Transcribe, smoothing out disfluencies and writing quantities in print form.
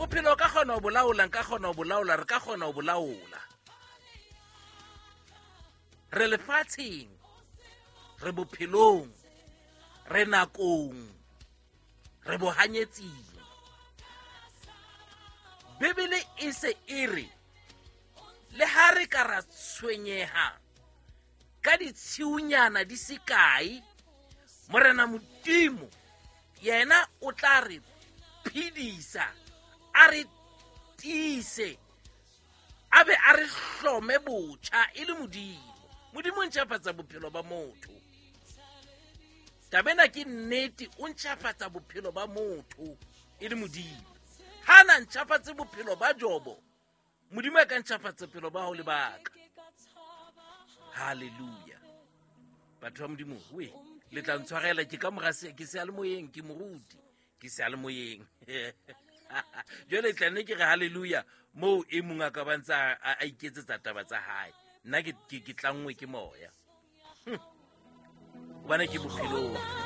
Bophelo o ka kgona ho bolaola, nka kgona ho bolaola, re ka kgona ho bolaola. Re lefatsheng, re bophelong, re nakong, re bohanyetsing. Bibele e se e re le ha re ka ra tshwenyeha ka ditshiunyana di se kae, Morena Modimo yena o tla re phedisa, a re tiise, a be a re hlome botjha e le Modimo. Modimo o ntjhafatsa bophelo ba motho. Taba ena ke nnete, o ntjhafatsa bophelo ba motho e le Modimo. Ha na ntjhafatse bophelo ba Jobo, Modimo a ka ntjhafatsa bophelo ba hao le baka. Hallelujah. Batho ba Modimo, we le tla ntshwarela, ke ka mora ke seyalemoyeng, ke moruti, ke seyalemoyeng. Jwale tla nne ke re hallelujah moo e mong a ka ba ntse a iketsetsa taba tsa hae. Nna ke tlanngwe ke moya. Hobane ke bophelong.